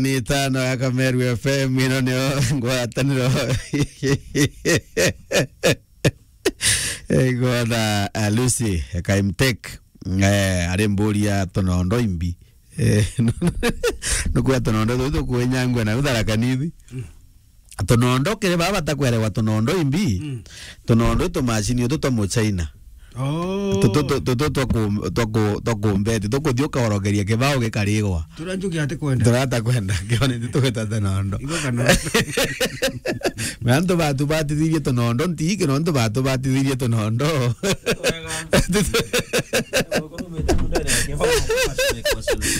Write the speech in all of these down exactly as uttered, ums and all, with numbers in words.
Ni itano ya Kameru F M, ino nio ngwataniro. Igona, eh, Lucy Kaimtek, eh, ari mburi ya tunondo imbi. Eh, nukwira tunondo tutu kwinyangwa na uthara kanithi. Tunondo kiri baba batakwerewa tunondo imbi. Mm. Tunondo itu macini utu twa muchaina. Oh. Tutu, tu-, tutu twa ku-, twa ku-, twa kumbeti, tukuthi ukaorokeria kibao gikarigwa. Turia Njuki atikwenda. Turata kwenda, kione tugwita tunondo. Igo kana. Na antu batubatithirie tunondo, nti kino antu batubatithirie tunondo.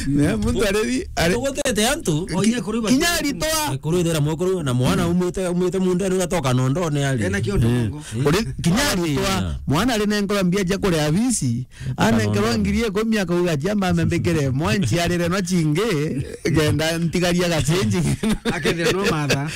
Ne, muntu areri, ari-, Tugutete antu. Onye kuru iba kinya aritwa. Kuru ithera mwekuru na mwana umwite, umwite mundene ugatoka nondone ari. Ena kiondo. Eh. Bongo. Uri kinya aritwa, mwana ari nenkora mbia cia kuria bisi, anenkerwa ngiri ikumi akauga, "Cia mama mbikire mwa nchiarire no chingi, kenda ntigaria gacenji." Akethira no matha.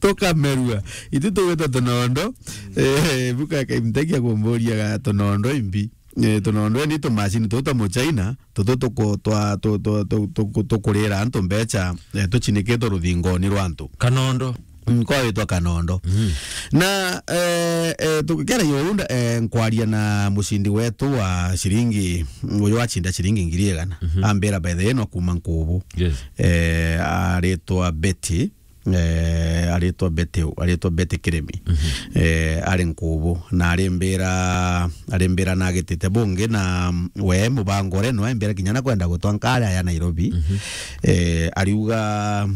Tukamerua. Itu tugwita tunondo. Eh, buka Kaimtek akumburia ga tunondo imbi. Eh, tunondo ni tumacini tutu twa muchaina, tutu tuku-, twa-, tu-, tu-, tu-, tuku-, tukurira antu mbecha, eh, tuchinikitwe ruthingoni rwa antu. Kanondo. Mm, kwa witwa kanondo. Mm. Na, eh, eh, tukikera yo unda, eh, nkwaria na mucindi wetu wa ciringi, uyu wachinda ciringi ngiri igana. Mhm. Ambira, "By the way, no kuma Nkubu." Yes. Eh, aritwa Betty. Eh, aritwa Betty, aritwa Betty Kirimi. Mhm. Eh, ari Nkubu, na arimbira, arimbira na agitite bungi, na, mm, we mubango ore no aimbira kinya na kwenda gutwa nkari ya Nairobi. Mhm. Eh, ariuga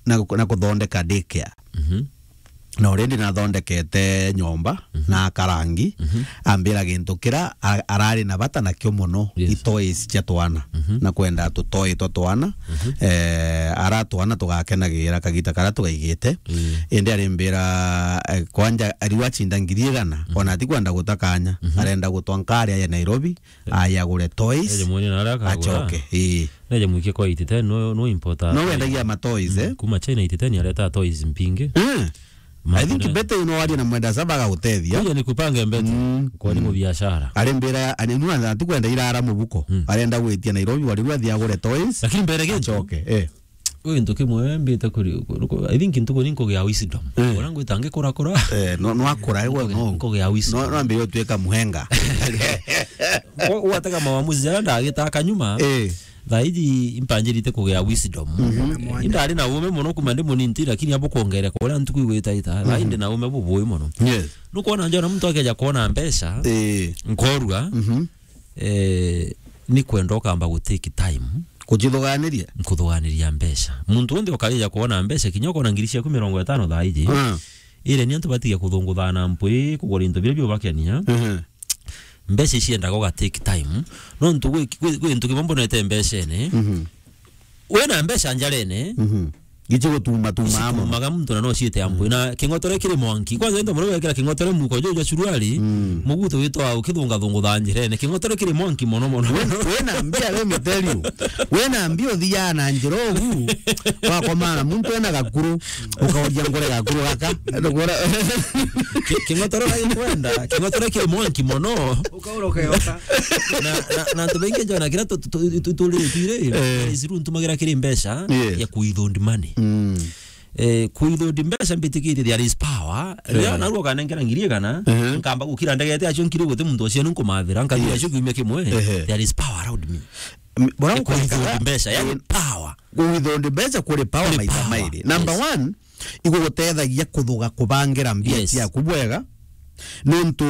na gu-, na kuthondeka daycare. Mhm. Na already nathondekete nyomba, mhm, na akarangi, mhm, ambira gintu kira a-, arari na bata nakio mono, yes, i toys cia twana. Mhm. Na kwenda tutoi twa twana, mhm, eh, ara twana tugakenagira kagita karia tugaigite. Mm. Indi arimbira, eh, kwanja ariu achinda ngiri igana, mhm, ona atikwenda guta kanya, mhm, arenda gutwa nkari ya Nairobi, eh, aye agure toys, eje mwene na aria akagura, acoke. Ii. Neje mwikie kwa eighty ten, no, no importer. No wendagia ma toys, mm, eh? Kuma China eighty ten areta toys mpingi. Eh. I think Betty no warie na mwenda saba agagutethia. Kuja nikupange Betty. Mm. Kwa ni, mm, mubiashara. Arimbira, ani nuna atikwenda irara mubuko. Mm. Arenda gwitia Nairobi, wari rwa thia agure toys. Lakini mbere gintu, acoke, eh. Ui ntuki mwe mbite kuri, kuri, I think ntuku ni nkugia wisdom. Eh. Ura ngwita ngikura kura. Eh, no, no akura, ewe no. Nkugia wisdom. No, no ambe yo tweka muhenga. Kwa, watega maamuzi jaria ndagitaka nyuma. Eh. Thaa iji impanjirite kugia wisdom. Mhm. Indari na uume mono kuma ndi munini, lakini abo kwongereka uria ntuku igwitaita. Thaa iji, mhm, ndi na uume bubui mono. Yes. Nukwona njona muntu akeja kwona mbeca, eh, nkorua, mhm, eh, ni kwenda ukamba gu take time. Kujithuganiria? Nkuthuganiria mbeca. Muntu wonthe ukarija kwona mbeca, kinya ukona ngiri ciaku mirongo itano thaa iji. Ah. Ire ni antu batige kuthungutha na mpwi, kugura into biria biubakenia. Mhm. Mbeca iciendaga uga take time. Nontu gwi, gwi, gwi gintu kimwe mbonete mbecene. Mhm. Wina mbeca njarene. Mhm. Gichi gutuma tuma amo. Icitumaga muntu na no ciite ampwi. Mm. Na king'otore kiri mwanki. Kwanza into muno wekira king'otore muko juju jwa suruari. Mm. Muguto witwa ukithunga thungu tha njirene. King'otore kiri mwanki mono mono. Wina, wina mbia, let me tell you. Wina mbia uthiaga na njira ugu. Wakomana muntu ena gakuru. Ukaoria ngore gakuru gaka. Ndugora. Ki-, king'otore gaikwenda, king'otore kiri mwanki mono. Ukaura ukeoka. Na, na, na antu baingi njona kira tu-, tu-, tu-, tu-, turi twire, eh, is rue ntumagira kiri mbeca, yes, ya kuithund money. Mm. Eh, kuithund mbeca mbitikitie, there is power. Riria, eh, narua ukanengera ngiri igana, ehe, nkamba gukira ndegete acio nkiri guti muntu ucio nkumathira, nkathira, yes, acio kiumia kimwe, ehe, there is power around me. M-, bora, eh, kuithund mbeca, yani, eh, power. Kuithund mbeca kuri power. Kuri maita power, mairi. Number, yes, one, igugutethagia kuthuga kubangira mbia, yes, ciaku bwega. Nontu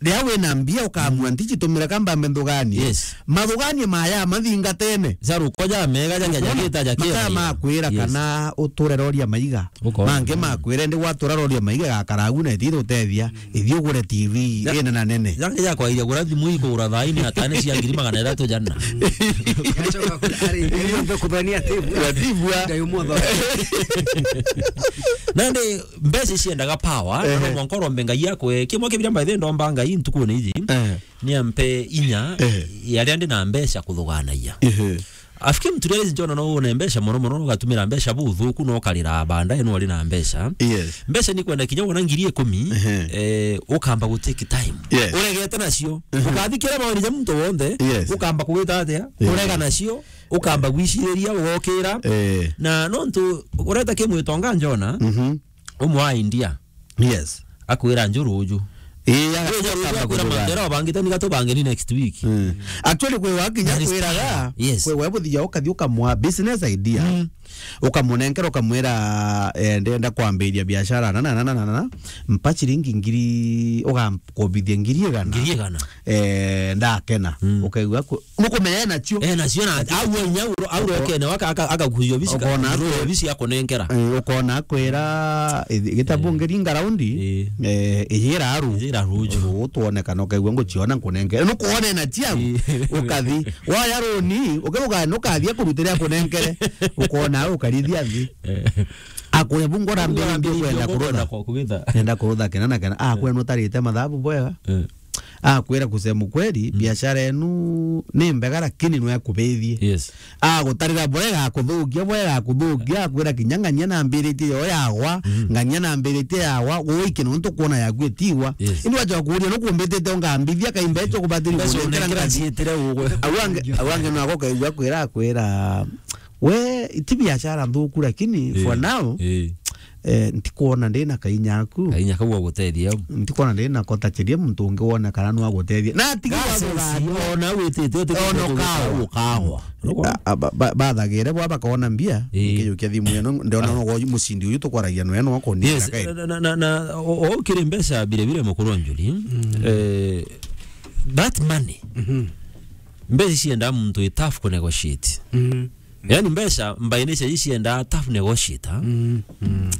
riria wina mbia ukamua, mm, ntichitumire ka mbambe nthuganie. Yes. Mathuganie maya mathingatene. Jaruko ja mega ja, ja, ja, ukwona? Gita ja kira. Makaa makwira, yes, kana uture roria maiga. Ukoona. Mange makwire ndi gwatura roria maiga gakaragu na iti gutethia. Ithi ugure T V, ya, ina na nene. Yangi ya kwairia gura thimu ikugura thaini atane cia ngiri magana jathatu jana. Yacoka kuri ari, iri nthe kuthania tibu. Ya tibu, a. Ngai umwe tho. Nandi mbeca iciendaga power, na, ehe, no mwanka urombe Ngai akwe. Kimwe kibira mbaithe ndomba Ngai ntukuni iji. Eh. Ni ampe inya, eh, ya riria ndi na mbeca kuthuganagia. Ehe. Afikiri mtu rĩrĩa njona no wone mbeca mono mono, no gatumira mbeca buthuku, no karira baadaye no ari na mbeca. Yes. Mbeca ni kwenda kinya wona ngiri ikumi, Ehe. eh, ukamba gu take time. Yes. Uregete nacio. Ehe. Ukathikira maoni ja muntu wonthe, Yes. ukamba kugita atia? Yeah. Urega nacio, ukamba gwiciriria, ugokira. Eh. Na nontu ureta kimwitonga njona, Mhm. umwe wa India. Yes. Akwira njuru uju. Ii, Wewe akamba akwira kujuga. Mandera obangite niga tubange ni next week. Mm. Actually, kwi wa kinya That is kwiraga, time. Yes. Kwi wa buthia ukathi ukamwa business idea. Mm. Ukamunenkera, ukamwira, eh, ndenda kwambiria biashara na, na, na, na, na, na. Mpa ciringi ngiri, ugankobithia ngiri igana. Ngiri igana. Eh, ndakena. Mm. Ukaigua ku-, nukumenya nacio. Eh, nacio na, au inya uro, au Uko-, rokene, waka, aka, aka kuyo bisi ka, ukona uro kwe-, bisi akunenkera. Eh, ukona kwira, eh, gitabu Eh. Ngiri ngaraundi, Eh. eh, ijira aru. Ijira aru uju. Uru twonekana, ukaigua nguciona nkunenkera. Nukuone na ciau, Eh. Ukathi. Waya runi, ukiruga nukathia kurutira akunenkere. Ukona au ukarithia thi. Eh. Akure bungo rambiririe kwenda kurutha. Kwenda kurutha kena na kena. Ah, kwenu utarite mathabu bwega. Eh. Akwira, kusema kweli, Mm. biashara enu ni mbega, lakini no ekubithie. Yes. Agutarira bwega, akuthukia bwega, akuthukia, akwira kinya ng'ania nambiritie yo yagwa, Mm. ng'ania nambiritie yagwa, guiki nontu kuona yaku itiwa. Yes. Indi wacha kuuria, nukumbitite ungambithia kaimbe cho kubatiri Mbeca kunenkera unenkera ngathi. Ciitire ugwe. Au ange, au ange no agokaigua kwira, akwira, we, ti biashara nthuku, lakini for Eh, now, eh. eh, ntikwona ndi na kainya aku. Kainya kau gagutethia au. Ntikwona ndi na kotachiria muntu ungi wonekana no agutethia. Na atiga Gases, wagura ona witite, uti ona kugura ukagwa. Ukagwa. A, a, ba, ba, bathagire bwa bakona mbia, Eh. Nkijukia thimu ino, ndona Ah. no mucindi uyu tukwaragia nwe no akunia Yes, kai. Na, na, na, na, o, o, ukiri mbeca bire bire mukuru njuri, Mm. eh, that money, Mhm. mbeca cienda muntu i tough ku negotiate. Mhm. Yani mbeca mbaine cia icienda tough negotiator. Mm. Mm.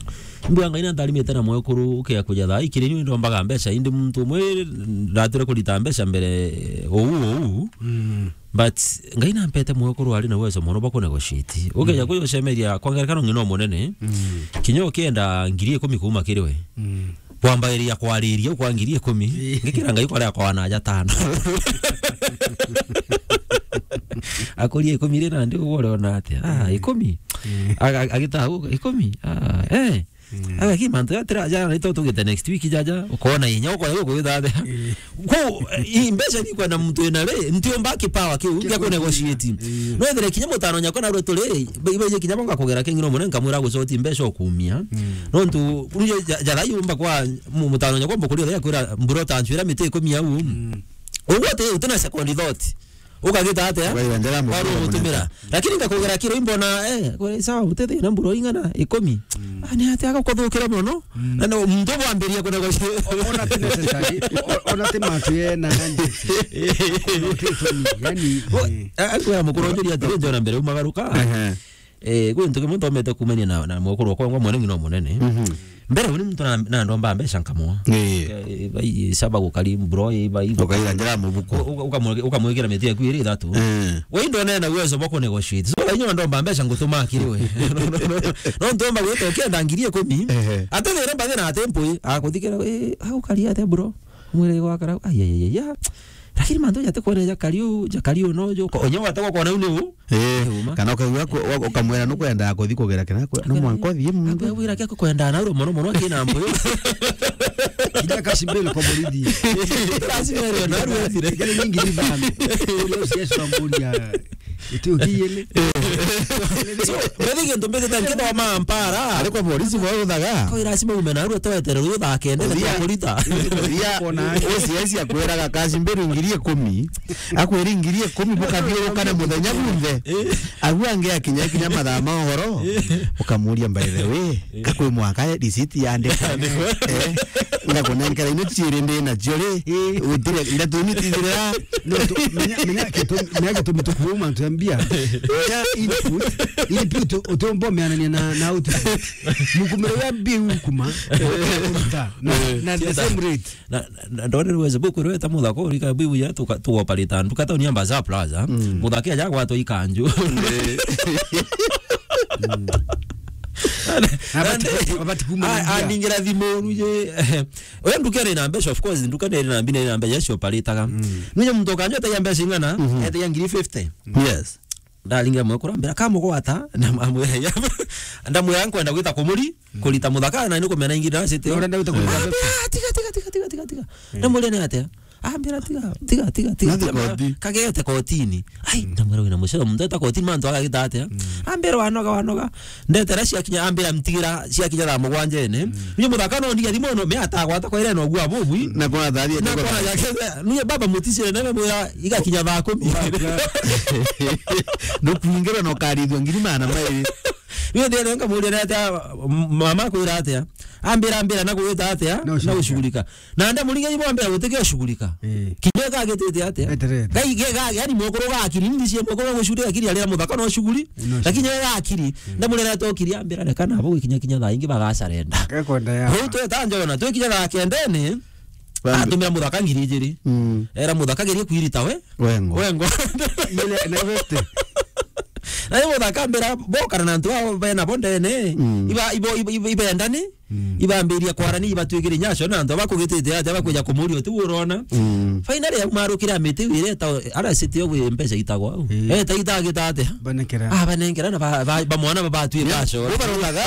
Mbua Ngai na ntharimite na mwekuru ukia kuja thaa ikiri ni ndombaga mbeca indi muntu umwe ndatire kurita mbeca mbere ou ou. Mm. But Ngai nampete mwekuru ari na uwezo mono bwa ku negotiate. Ukeja Mm. kuyo cemeria kwa ngerekano ng'ina munene. Mm. Kinya ukienda ngiri ikumi kuuma kiri we. Mm. Kwambairia kwariria kwa ngiri ikumi, Ii. Ngikira Ngai kwaria kwa na aja tano. Akuria ikumi ri nandi ugore ona atia? Ah, Mm. Ikumi. Mm. Aga-, agita u, ikumi. Ah, eh. Mm. Aga ki mantu ya tira aja, ito tugite next week jaja. Ukona inya, ukona ukwitha atia? Mm. Ku, i mbeca ni kwenda muntu ina ri, ntiumba kipawa kiu, kia ku negotiate. Mm. No ethire kinya mutano nyakwa na rwe turi, be, be, kinya bonga kugera king'ina munene nkamwira gucoti mbeca ukumia. Mm. Nontu, kuru ja-, ja-, jara yumba kwa mu-, mutano nyakwa mbukuria ya kwira mbura utanchwira miti ikumi au. Mm. Uguo uti, utina second thought. Ukagita atia? Ukaira njara mu-, Wari umutumira. Lakini ngakugera kiro imbona, eh, kwe, sawa, utete na mbura ing'ana, ikumi. Mm. Ah, ni atia agakuthukira mono? Mm. Na no, muntu bwambiria kuna kwa Ona ti necessary. O-, ona ti matu ye na nandi. Ona ti tuni, yani, Wo-, eh. a-, akwira mukuru njuri atiri, njona mbere umagaruka. Ehe. Eh, kwi ntu kimwe ntomete kumania na, na mwekuru wakwa, ngwa mwanengi no munene. Mhm. Mbere uni muntu na, na ndomba mbeca nkamwa. Eh. Eh, bai, saba gukari mbro, eh, bai. Ukaira njara mubuko. U-, u-, ukamwe-, ukamwikira miti yaku iri ithatu. Eh. We ndone na uwezo bwa ku negotiate. So, inyo ndomba mbeca ngutuma kiri we. No, no, no, no. No ntomba gwita ukienda ngiri ikumi. Ehe. Ate thire mbathi na ate mpui, akuthikira, eh, au kari ate bro. Mwire gwakara, ai, ai, ai, ai, ya. Lakini mantu jate kwona ja kari u, ja kari u no jo. Ko-, onye wate kwa kona u ni u. Eh, Uma. Kana ukaigua ku-, wa-, ukamwira nukwenda kuthi kugera kina kwe, no mwanka uthie muntu. Akwira kia kwenda na uro mono mono kina mbuyo. Kija kashibele kwa borithi. Lazima ero na uro ethire. Kile nyingi ni bana. Ule usiesha mburia. Iti ukiyele. So, mbethi gintu mbithite nkithoma mpara. Ari kwa borisi bo uthaga. Ko lazima ume na uro twetere uro thakende na Uthia. Kurita. Uthia. Kona. Usiesi akwiraga kashibele ngiri ikumi. Akwira ngiri ikumi bukathiurukana muthenya gunthe. Eh. Agu angi akinya kinya mathaa ma uhoro, Eh. Ukamuria, "By the way, Eh. Kakwi mwaka receipt yandika?" Eh. Ngakunenkera ino ciiri ndi nacio ri, Eh. Utire, ndeto ino itithirira. No, tu-, menya, menya kitu-, menya gitumi tukuuma antu ya mbia. Menya input, input utiumba umeanania na, na output. Mukumiro ya mbia ukuma, ukaruta na, na the same rate. Na, na, na ndonere weze buku rweta muthaka urika bibu ya tuka-, tugoparita nduka tauni ya Bazaar Plaza. Mm. Muthaka aja gwatwa ikanju. Mm. Na abati, abati kuma a-, mbia. Aningira thimu ruje. Oya nduka iri na mbeca, of course, nduka iri na mbina iri na mbeca cio paritaga. Mm. Nuje muntu kanju etagia mbeca ing'ana, Mhm. Etagia ngiri fifty. Yes. Ndaringira mwekuru, ambira, "Kamugwata," na amwira, "Iya." Ndamwira, "Nkwenda gwita kumuri, kurita muthaka, na ni kumena ingi ndacite." Na urenda gwita kumuri. Ambira, "Tiga, tiga, tiga, tiga, tiga, tiga." Ndamwira, "Ni atia?" Ambira, "Tiga, tiga, tiga, tiga." Nathi koti. "Kagete kotini." Ai, ndamwira, "Wina mucoro, muntu eta kotini, mantu agagita atia?" Ambira, "Wanoga, wanoga." Ndetera ciakinya, ambira, "Mtigira, ciakinya thaa mugwanja ene." Niye muthaka no ndiga thimo no, me atagwata kwa ire no gwa bubwi. Na kwa thari na kwa yake, niye baba muticire nebe mwira igakinya thaa kumi. Nukuingira no karithwa ngiri magana mairi. Niye ndere nkamuria atia, "Mama kwira atia?" Ambira, "Ambira na gwita atia? Na ucugurika." Na nda muringe ibo ambira gutike ucugurika. Eh. Kinya gagitite atia? Eterete. Gai, ge, ga, yani mukuru gakiri, ndicie mukuru gucugurika kiri arira muthaka no cuguri. No. Lakini gakiri, ndamurera tokiri ambira reka na bo gukinya kinya thaa ingi bagacarenda. Gekwenda ya. Riu tweta njona, twikinya thaa kendene, atumira muthaka ngiri ijiri. Era muthaka gerie kwirita we. Wengo. Wengo. Ile na vete. Na yo muthaka mbira bokana na antu abo bena bo ndene. Iba, ibo, ibo, ibo, ibendani. Ibambiria kwarania, ibatwikire nyaco na antu abakugitite aja bakwija kumuria uti urona. Finally, aumarukire amiti wire eta, ara city yo gwi mbeca itagwa au. Eta itagita atia? Banengera. Ah, banengera na ba, ba, ba mwana babatwika aco. Ubaronaga.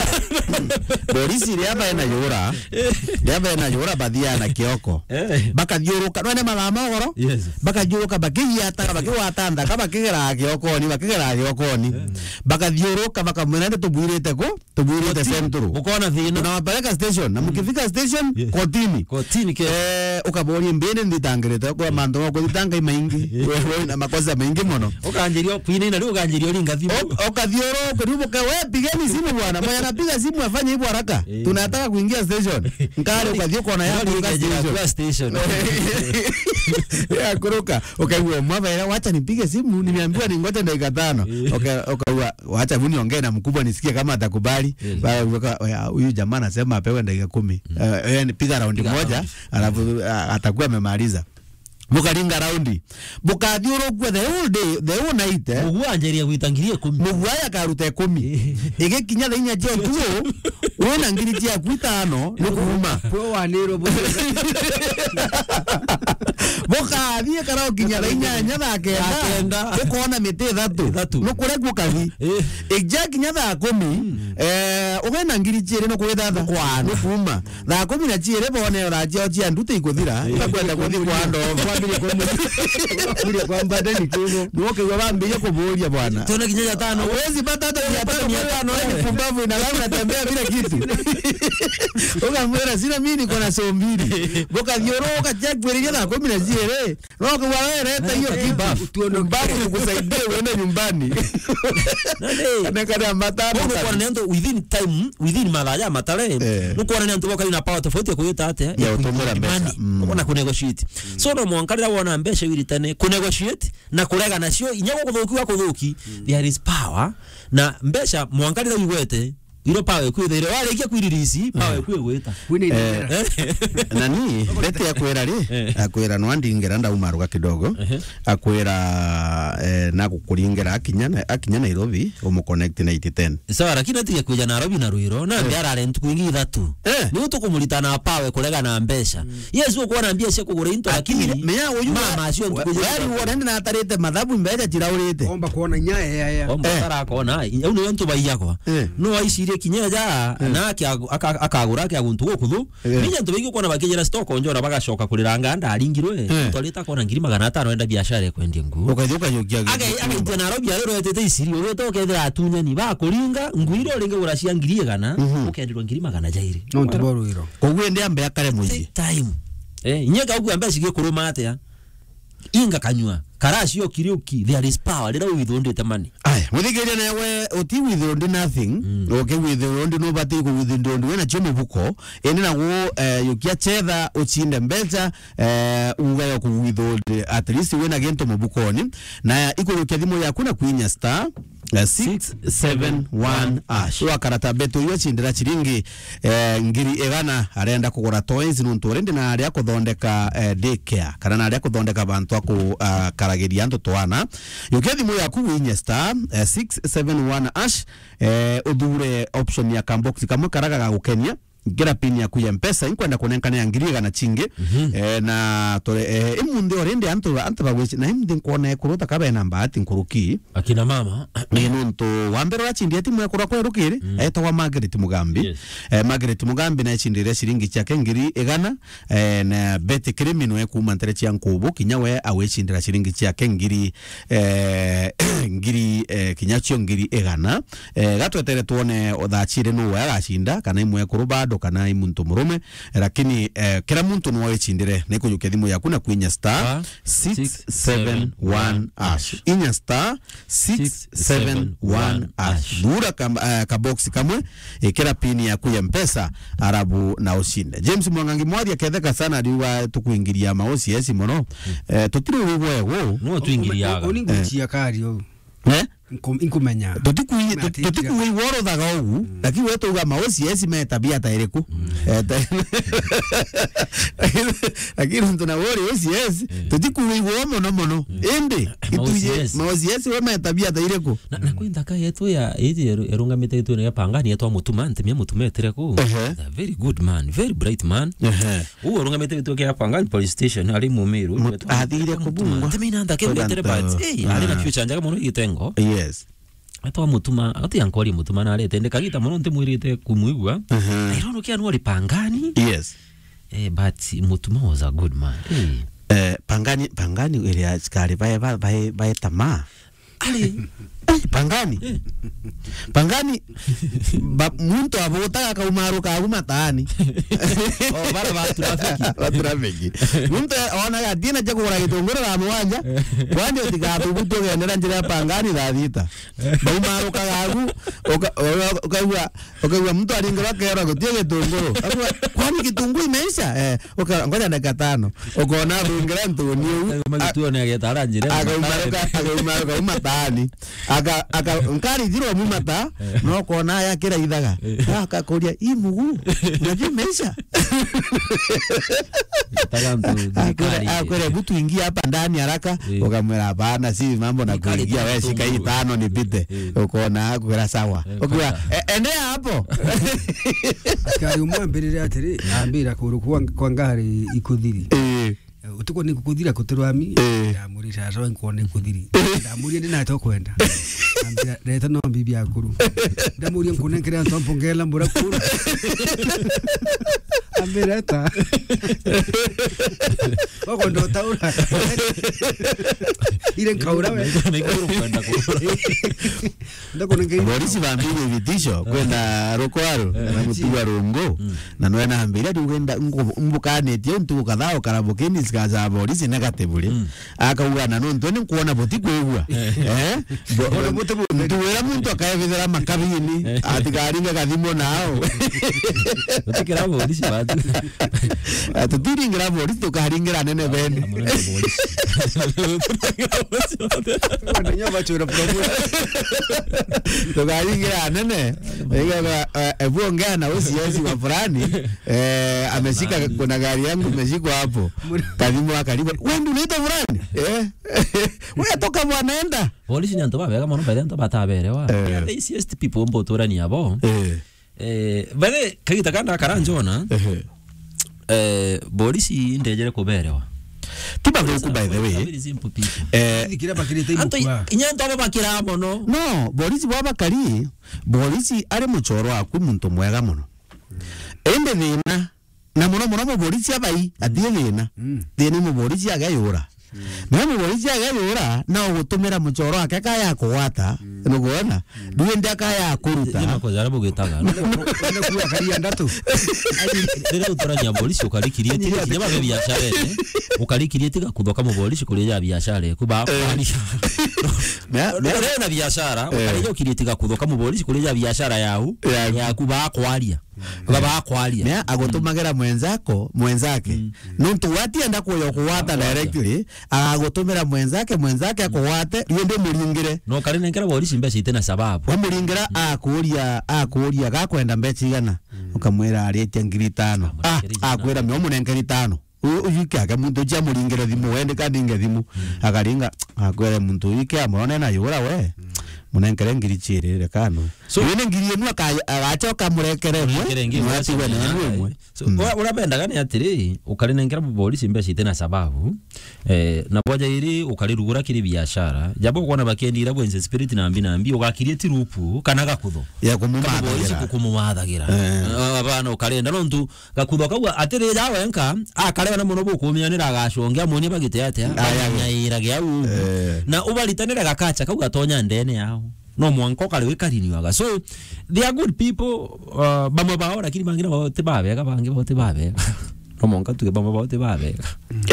Polisi ria baena yura. Ria baena yura bathiana kioko. Eh. Bakathiuruka, none mathaa ma ugoro? Yes. Bakathiuruka, bakigiataga, bakigwata nthaka, bakigera kiokoni, bakigera kiokoni. Eh. Bakathiuruka, bakamwira, "Ndi tubwirite ku?" Tubwirite Central. Mukona thina. Tunawapeleka station. Na mukifika station, kotini. Kotini ke. Eh, ukaboria mbini nditangirite kwa mantu ma kuthitanga i maingi. Wewe na makosa maingi mono. Ukanjiria kwina ina riu ukanjiria uringa thimu. Ukathio ro kuri buka we pigeni simu bwana. Mwenye anapiga simu afanye hivyo haraka. Tunataka kuingia station. Nkare ukathio kona ya kuruka station. Ya kuruka. Ukaigua mwabaira, "Wacha nipige simu, nimeambiwa ningoje dakika tano." Uka-, ukaigua, "Wacha bu niongee na mkubwa nisikie kama atakubali." Yes. Ba-, weka, "Oya, huyu jamaa anasema apewe dakika kumi." Eh, eh, ni piga round moja, alafu, ah, atakuwa amemaliza. Mukaringa round. Bukathiurukua the whole day, the whole night, eh. Mugu anjiria gwita ngiri ikumi. Mugu aya akaruta ikumi. Igikinya thaa inya cia utuku, wina ngiri ciaku itano, ni kuuma. Kwe wanirwo bu- Bukathie kara ukinya thaa inyanya thaa kenda. Thaa kenda. Ukona miti ithatu. Ithatu. Nukuregua kathi. Eh. Ijakinya thaa kumi, eh, ugena ngiri ciiri nukwithatha. Kwana. Nukuuma. Thaa kumi na ciiri bone thaa ciao cia nduti ikuthira, ibakwenda kuthi kwa ndo. Kwambire kwa mu-, kwambire kwa mbate ni kugo. Nokigwa bambirie kuburia bwana. Tuna kinya ya tano. Wezi pata hata mia tano, mia tano, eh. Pumbavu inalala unatembea bila kitu. Ukamwira, "Sina mimi niko na so mbili." Bukathiuruka cia kwiriria thaa kumi na ciiri. Nokigwa we reta hiyo kitu. Babu. Babu kukusaidia uende nyumbani. Nani? Kana kana matano. Unakuwa na ndio within time, within mathaa ya matare. Eh. Nukuona ni antu boka na power tofauti ya kuyita ate. Ya utumira mbeca. Money. Mm. Unaona ku negotiate. So no mwanka riria wona mbeca wiritane ku negotiate na kurega nacio, inya gukuthuki wa kuthuki, there is power. Na mbeca mwanka riria wigwete, iro power ikwithaire. Warikia kwiririci, power ikwi gwita. Wina inengera. Eh. Nani, Betty akwira ri, akwira no andingera ndauma ruga kidogo. Ehe. Akwira, eh, na gukuringera akinya na, akinya Nairobi, umu connect na eight ten. Sawa, lakini atige kwija Nairobi na rwiro, na ndia arare ntuku ingi ithatu. Eh. Ni utukumurita na power kurega na mbeca. Yes, ukuona mbia cia kugura into, lakini mea uyu mama acio ntuku ingi ithatu. Wari uonende na atarite mathabu mbeca ciraurite. Omba kuona nyaya ya, ya. Omba tarakona, au niyo ntu baiyagwa. Eh. No aicirie kinya ja, na akia-, aka-, akagura akia guntu gukuthu. Eh. Ninya antu baingi ukona bakijira stock onjora bagacoka kurira nganda aringirwe. Eh. Twarita kona ngiri magana atano enda biashara ya kwendia nguo. Ukathi ukajukia. Age-, agaitia Nairobi ariro etete iciri, ugeta ukethira atunyani bakuringa, nguo iria uringi gura cia ngiri igana, ukendirwa ngiri magana jairi. No ntu boru iro. Koguo ende ambe akare mucii. Take time. Eh, inye kaugu ambe cigikuru mate ya. Inga kanyua. Karacio kiriuki, there is power. Rira withundite mani. Aya, muthikiria newe uti withund nothing. Mm. Uke withund nubati ku withund wena cio mubuko. Indi nagu, eh, yukia chetha uchinde mbeca, eh, uga yo ku withund, at least wena gintu mubukoni. Na ikurukia thimu yaku na kwinya star, eh, six seven one hash. Wakarata betu iyo chindira chiringi eh, ngiri igana arenda kugura toys nuntu already na aria kuthondeka, eh, daycare, kana na aria kuthondeka bantu aku, ah, karagiria antu twana. Yukia thimu yaku winye star, eh, six seven one hash, eh, uthure option ya kambox kamwe karaga gagukenia. Kira pin yaku ya Mpesa, inkwenda kunenkanira ngiri igana cingi. Mhm. Eh, na tore, eh, imunthi already antu, antu bagwici, na imunthi nkwona ekuru ta ka bena mbaati nkuruki. Akina mama. Ni nontu wa mbere wacindire timu ekuru kwerukiri, mm, etagwa Margaret Mugambi. Yes. Eh, Margaret Mugambi na ecindire ciringi ciake ngiri igana, eh, na Betty Kirimi nwe kuuma ntere cia Nkubu, kinya we awicindira ciringi ciake ngiri, eh, ngiri, eh, kinya cio ngiri igana. Eh, gatwetere twone thaa ciri nuu agacinda, kana imwekuru bado, kana imuntu murume. Lakini, eh, kira muntu no wicindire, na ikujukia thimu yaku na kwinya star six seven one hash. Inya star six seven one hash. Thura ka, eh, ka box kamwe, ikira pin yaku ya Mpesa, arabu na ucinde. James Mwangangi Mwaria ketheka sana, ariuga tukuingiria ma O C S mono. Mm. Eh, tutiri wigwa ego. No tuingiriaga. Uni nguchia kari o. Eh? Nku-, inkumenya. Tutikui-, tut-, tutikuigua uruthaga ugu, mm, lakini we tuuga ma O C S me tabia ta iriku? Mm. Eh, ta-, lakini, lakini ntu na wori O C S, mm, tutikuigua mono mono. Mm. Indi, ma O C S, ituje, ma O C S we me tabia ta iriku? Na, na kwi nthaka yetu ya, iji eru-, erungamite gituene gia Pangani yetwa Mutuma, ntimia Mutuma etire ku. Ehe. He's a very good man, very bright man. Ehe. Uu urungamite gituo kia Pangani Police Station, ari Mumiru. Mut-, athire kubungwa. Ntimina nthaka imwetere, but, hey, ari na future njega mono igitengo. Yes. Etwa Mutuma, ati ankori Mutuma na arete, ndi kagita mono ntimwirite kumwigua. Aha. I don't know kia nori Pangani. Yes. Eh, but Mutuma was a good man. Eh. Eh, Pangani, Pangani iria askari bae, bae, bae, bae tamaa. Ari. Eh, Pangani. Eh. Pangani, ba-, muntu abutaga kaumaruka agu mataani. Oh, bara ba trafiki. Ba trafiki. Muntu onaga atina cia kugura gitunguru na mugwanja, kwani utigathubutu ugendera njira ya Pangani thaa thita. Baumarukaga agu, uka-, uka-, ukaigua, ukaigua muntu aringirwa akerwa guti gitunguru. Akauga, "Kwani kitunguu imeisha?" Eh, uka-, ngoja dakika tano. Ukona athungira ntuni uu. Auma gituone ageta ara njira. Akaumaruka, akaumaruka auma taani. Aka, aka, nkari thirwa mu mata, eh, no kona aya kira ithaga. Eh. Akakuria, "Ii mugu, unajua imeisha?" Taga ntu thirikari. Akwire, akwire, "Hebu tuingie hapa ndani haraka." Eh. Ukamwira, "Hapana, si mambo na kuingia, we shika hii tano nipite." Eh. Ukona akwira, "Sawa." Eh, ukiwa, "E-, endelea hapo." Askari umwe ambirire atiri, ambira kuru kwa, kwa ngari ikuthiri. Eh. Eh, utuko ni kukuthira kuturwami. Eh. Ndamuri, "Sasa we nkuona ikuthiri." Ndamuria, "Ndi nate ukwenda?" Ambira, "Reta no mbibi akuru." Ndamuria, "Nkunenkere antu ampongela mbura kuru?" Ambira, "Eta." Wako ndo taura. Ile nkaura we. Niko, niko kwenda kura. Ndakunenkere. Borisi bambirie vitisho kwenda rukwaru, eh, na mutuga rungu. Mm. Na nwe nambira riu wenda ngu-, mbukanitie untu ukathaa ukara bukini sikaja borisi negative ri. Mm. Akauga, "Na nontu ni nkuona buti kwigua." Eh. Eh? Bo-, ona buti buti. Ntuwira muntu akaebithira makabini, eh, atikaringe kathimo nao. Tutikira borisi batu. Ah, tutiringira borisi, tukaringira anene bene. Munene borisi. Wenda nyo bachwira promotion. Tukaringira anene. Ega, eh, ebu ongea na O C S wa fulani, eh, ameshika, kuna gari yangu imeshikwa hapo. Kathimo akaribu, "Wewe ndio unaitwa fulani?" Eh? "Wewe toka bwana, enda." Polisi ni antu babega mono, by the way, antu bataberewa. Eh. They are the easiest people mbo turania bo. Eh. Eh, by the way, kagita kanda kara njona, ehe, eh, polisi ndejere kuberewa. Ti bathuku, by the way. Very simple people. Eh, kiria bakirite antu imukua. Inya antu abo bakira mono. No, borisi bwa bakari, borisi ari muchoro waku muntu mwega mono. Indi thina, na muno muno muborisi abai, atie thina. Mm. Thina ni muborisi ageyura. Mm. Na muborisi ageyura, na ugutumira muchoro wake kaya kugwata, mm, nukwona? Mm. Ndwende akaya kuruta. Ni makosa aria bugitaga. Ndio kuwa karia ndatu. Riria utarania borisi ukarikirie, tiga kinya babe biashara ene. Ukarikirie tiga kuthoka muborisi kuria ya biashara eku bakwaria. Na, na, na biashara, eh, ukarikirie tiga kuthoka muborisi kuria ya biashara yau, ya, yaku bakwaria. Baba akwaria. Mea agutumagira mwenzako, mwenzake. Mm. Nontu we atienda kuya kugwata directly, agagutumira mwenzake, mwenzake akugwate, riu ndi muringire. No kari nenkera borisi mbeca ite na sababu. Wamuringira, mm, akuria, akuria, "Gakwenda mbeca igana?" Mm. Ukamwira, "Aritie ngiri itano." Ah, akwira, "Mea umunenkeri itano." U-, uyu kiake muntu ucio amuringire thimu, wende kaninge thimu. Mm. Akaringa, akwire muntu uyu kia murone na yura we. Mm. Munenkere ngiri ciiri, reka anwe. So, wene ngiri imwe aka-, agacoka murekere imwe, murekere ngiri imwe, mwatigwe na imwe. So, mm, ura-, ura bendaga ni atiri, ukarinengera mupolisi mbeca ite na sababu, eh, na bwaja iri ukarirugura kiri biashara. Jabo ukwona bakendi ira bwenze spirit na mbi na mbi, ugakirie tirupu, kana gakutho. Ya kumumathagira. Kamupolisi kukumumathagira. Eh. Ah, abana ukarenda, nontu gakutho kau atiri ja wenka, akareba na mono bukumianira agacongea, amonie bagite atia, aya, banyaira gia u. Eh. Na ubaritanire gakacha kau gatonya ndene yao. No mwanka ukari wikarinywaga. So, they are good people, uh, bamwe bao, lakini bangi nabo ti babega, bangi bao ti babega. No mwanka tuge bamwe bao ti babega.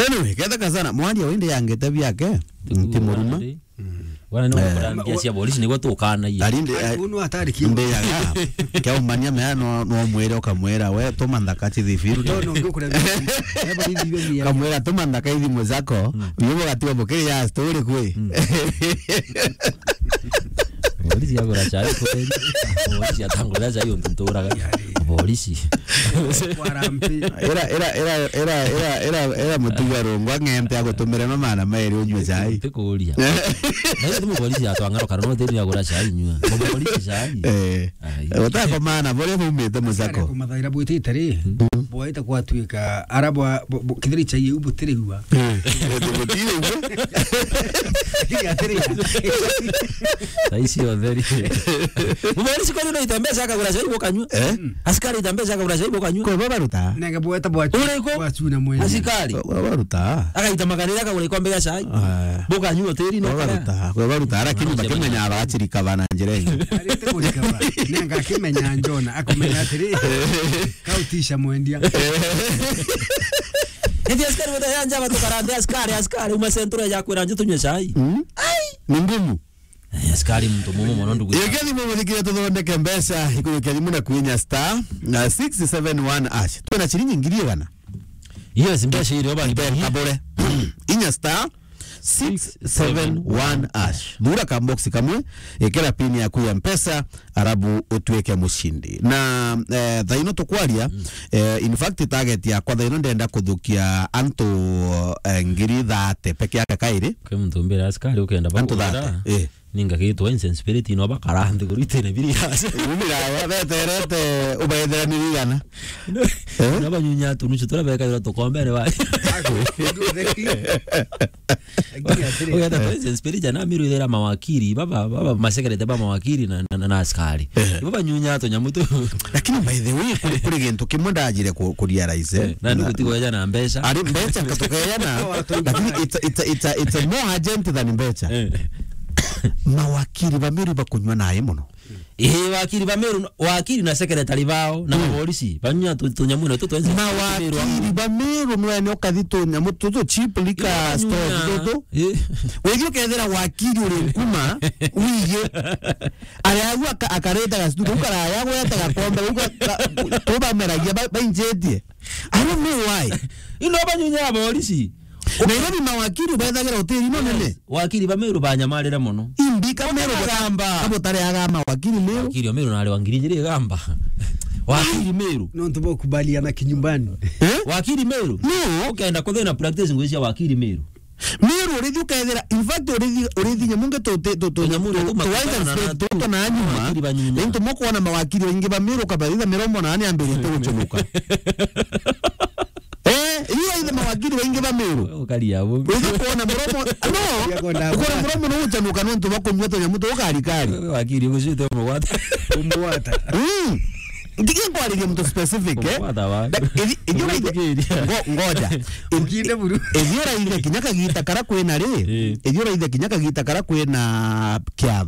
Anyway, ketheka sana, mwaria wende yangete biake, nti muruma. Wana no, eh, kurangia cia polisi niguo tukanagia. Ari ndi, eh, unu atari ki? Mbeyaga. Kiaumania mea no, no mwire ukamwira, "We, tuma nthaka chithi field." No, no, ngukura. Kamwira, "Tuma nthaka ithimu zako." Mm. Bibo gatiwa bukiri ya story kwi. Mm. Polisi agura chai kweli. Polisi atangura chai untu nturaga. Polisi. Kwa rampi. Era, era, era, era, era, era, era mutuga rungwa ng'ente agutumire mamana mairi unywe chai. Tikuria. Na hiyo tu polisi atwangaro kana no tiri agura chai nywa. Polisi chai. Eh. Ai. Utako maana, bore bumite musako. Kumathaira bwitite ri, mm, bwaita kwatuika, ara bwa, bu-, bu-, kithiri chai iu butiriua. Eh, butiriua. Kiri atiri. Thaa icio theri. Mupolisi kwani no itembea akagura chai bukanywa? Eh? Askari itembea akagura chai bukanywa? Kwa baba ruta. Nenge bweta bwa chu-, uriku? Bwa chuna mwenye. Askari. Kwa baba ruta. Agaita makanira akagura ikombe ya chai. Ah. Bukanywa tiri no. Kwa baba ruta. Kwa baba ruta. Lakini bakimenya abachirika bana njira ingi. Arite kurikaba. Nenge akimenya Jona, akumenya atiri. Kautisha mwendia. Eti askari weta ya njaba tukarande askari, askari, uma sentura ya kwira nje tunywe chai. Mm. Ai. Ni ngumu. Eh, askari muntu mumu mono ndugu. Yeke thimu muthikire tuthondeke mbeca, ikujukia thimu na kwinya star, na six seven one hash. Twina ciringi ngiri igana. Yes, mbeca irio bani. Mbe kabure. Inya star six seven one hash. Thura ka box kamwe, ikira pin yaku ya mpesa, arabu utuike mushindi. Na, eh, thaino tukwaria, mm, eh, in fact, target yakwa thaino ndenda kuthukia antu, eh, ngiri thate peke yake kairi. Kwi muntu mbira askari ukenda antu bakugura thate, eh. Ninga gitwa insensibility no bakara nthi kuri itene biri yase. Ubira ya beterete ubaethera ni rigana. Eh? Na banyunya tunuchu tura bekagira tukombere ba. Ugenda kwa insensibility na miru ithera mawakiri, baba, baba masekerete ba mawakiri na, na, na, na askari. Eh. Baba nyunya tunyamu tu. Lakini by the way, kuri, kuri gintu kimwe ndajire ku, ku realize, eh, na ndugu tigo eja na mbeca. Ari mbeca katukeja na, lakini it's, it's, it's, it's more urgent than mbeca. Eh. Mawakiri ba Meru bakunywa nae mono. Eh, wakiri ba Meru, wakiri na secretary bao, na, mm, mapolisi, banywa tu, tunyamu na tu twenze. Mawakiri ba Meru nwene ukathi tunyamu tu, tu cheap liquor store tu, tu. Eh. Wethi ukethira wakiri uri nkuma, wige. Ari agu aka-, akareta gastudio, ukaraya gweta gakombe, uga-, ga-, tubameragia ba-, bainjetie. I don't know why. Ino banyunya aborisi. Nairobi mawakiri bethagira hoteli no nene. Wakiri ba Meru banyamarire mono. Imbika Meru bagamba. Abo tare aga mawakiri Meru. Wakiri Meru nari wangiri njiri gamba. Wakiri Meru. No ntu bokubaliana kinyumbani. Eh? Wakiri Meru. No. Ukenda kuthina practice ngwisia wakiri Meru. Meru urithi ukethira, in fact, urithi, urithi nyamu nge tu, tu, tu, tu, tu, tu, tu, tu, tu, na nyuma, wakiri ba nyuma. Ni ntu mukwona mawakiri baingi ba Meru kabaitha mirongo nane ambirite gucunuka. Eh, iyo ithe mawakiri baingi ba Meru. Ukaria bu. Urithi kuona muromo, no, ya kwenda ukona muromo no gucanuka nontu bakunywa tunyamu tu karikari. Wakiri ugucite umugwata. Umugwata. Mm. Ndigi nkwariria muntu specific, eh? Umugwata wa. Ithi-, ithi uraithe-, ngo-, ngoja. Ukinde buru. Ithi uraithe kinya kagita kara kwina ri? Eh. Ithi uraithe kinya kagita kara kwina kiatho.